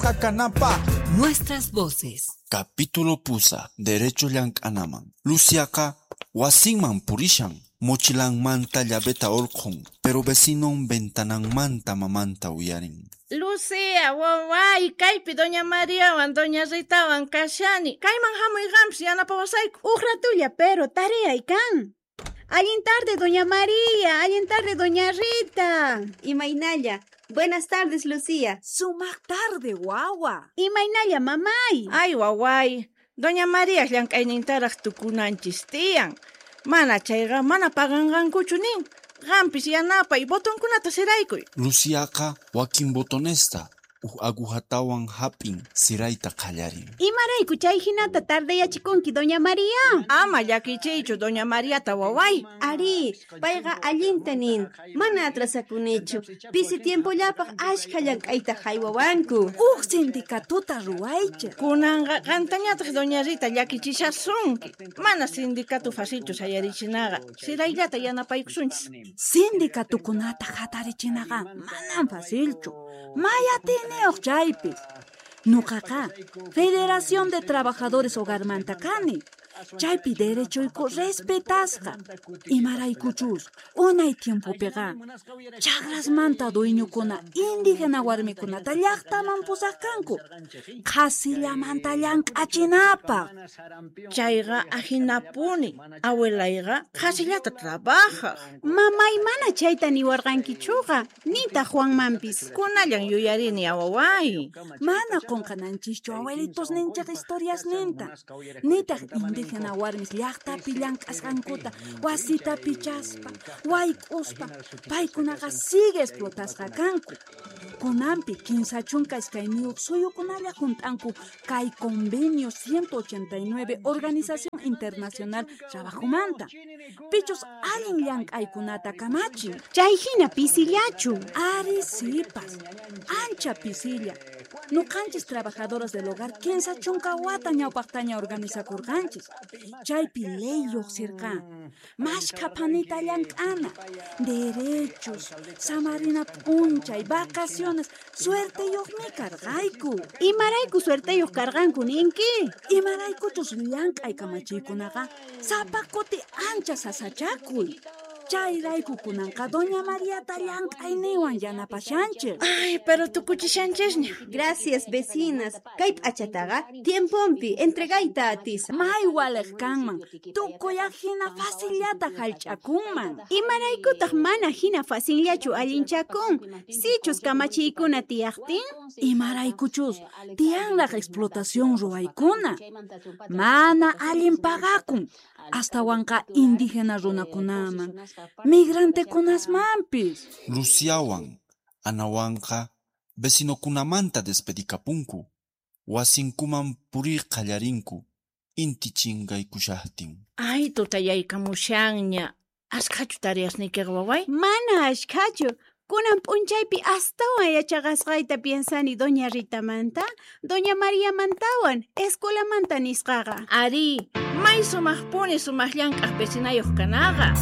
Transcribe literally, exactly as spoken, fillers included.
Kanapaq. Nuestras voces. Capítulo pusaq. Derecho llank'anaman. Luciaqa wasinman purishan. Mochilanmanta llaveta hurqun, pero vecinon ventananmanta mamanta uyarin. Lucía, waway, kaypi doña Mariawan, doña Ritawan kashani. Kayman hamuy qampis yanapawasayku. Uj ratulla, pero tareay kan. Allin tarde, doña María. Allin tarde, doña Rita. Imaynalla. Buenas tardes, Lucía. Sumaq tarde, wawa. Imaynalla, mamay. Ay, waway. Doña María llank'aynintaraq tukunanchis tiyan. Mana chayqa mana paganqankuchu nin. Qampis yanapay botonkunata siraykuy. Luciaqa wakin botonesta uj agujatawan hap'in sirayta qallarin. Imarayku chay hinata tardeyachikunki, doña María? Ama llakichiychu doña Mariata, waway. Ari, payqa allinta nin. Mana atrasakunichu. Pisi tiempollapaq ashkha llank'ayta haywawanku. Uj sindikatuta ruwaychik. Kunanqa qantañataq doña Rita llakichishasunki. Mana sindikatu facilchu sayarichinaqa. Sirayllata yanapaykusunchis. Sindikatukunata hatarichinaqa manam facilchu. May atiyniyuq chaypis. Nuqaqa Federación de Trabajadores Hogarmanta kani. Chaypi derechoyku respetasqa. Imaraykuchus unay tiempopiqa chakrasmanta dueñokuna indígena warmikunata llaqtaman pusaq kanku. Qhasillamanta llank'achinapaq. Chayqa ahinapuni. Abuelayqa qhasillata trabajaq. Mamay mana chayta niwarqankichuqa, nitaq Juanmanpis. Kunallan yuyarini, waway. Mana qunqananchischu abuelitos ninchik historiasninta. Nitaq indígena warmis llaqtapi llank'asqankuta wasita pichaspa, wayk'uspa, paykunaqa sigue explotasqa kanku. Kunanpi kinsa chunka iskayniyuq suyukunalla hunt'anku kay Convenio ciento ochenta y nueve Organización Internacional Trabajomanta. Pichus allin llank'aykunata kamachin. Chay hina pisillachu. Ari sipas, ancha pisilla. Nuqanchis trabajadoras del hogar kinsa chunka wata ñawpaqtaña organizakurqanchis. Chaypi ley lluqsirqa. Mashkha phanita llank'ana, derechos, samarina p'unchay, vacaciones, suerteyuqmi karqayku. Imarayku suerteyuq karqanku ninki? Imaraykuchus llank'ay kamachiykunaqa sapa kuti ancha sasachakuy. Chayrayku kunanqa doña Mariata llank'ayninwan yanapashanchik. Ay, pero tukuchishanchisña. Gracias, vecinas. Kay p'achataqa tiemponpi entregayta atisaq. May waliq kanman, tukuy hina facillata hallch'akunman. Imaraykutaq mana hina facillachu allinchakun? Sichus kamachiykuna tiyaqtin? Imaraykuchus tiyanraq explotación ruwaykuna. Mana allin pagakun. Astawanqa indígena runakunaman, migrantekunasmanpis. Luciawan, Anawanqa vecinokunamanta despedikapunku. Wasinkuman puriy qallarinku inti chinkaykushaqtin. Ay, tutayaykamushanña. Ashkhachu tareasniykiqa, waway? Mana ashkhachu. Kunan p'unchaypi astawan yachaqasqayta piensani doña Ritamanta, doña Mariamantawan, escuelamanta nisqaqa. Ari, may sumaqpuni sumaq llank'aq vecinayuq kanaqa.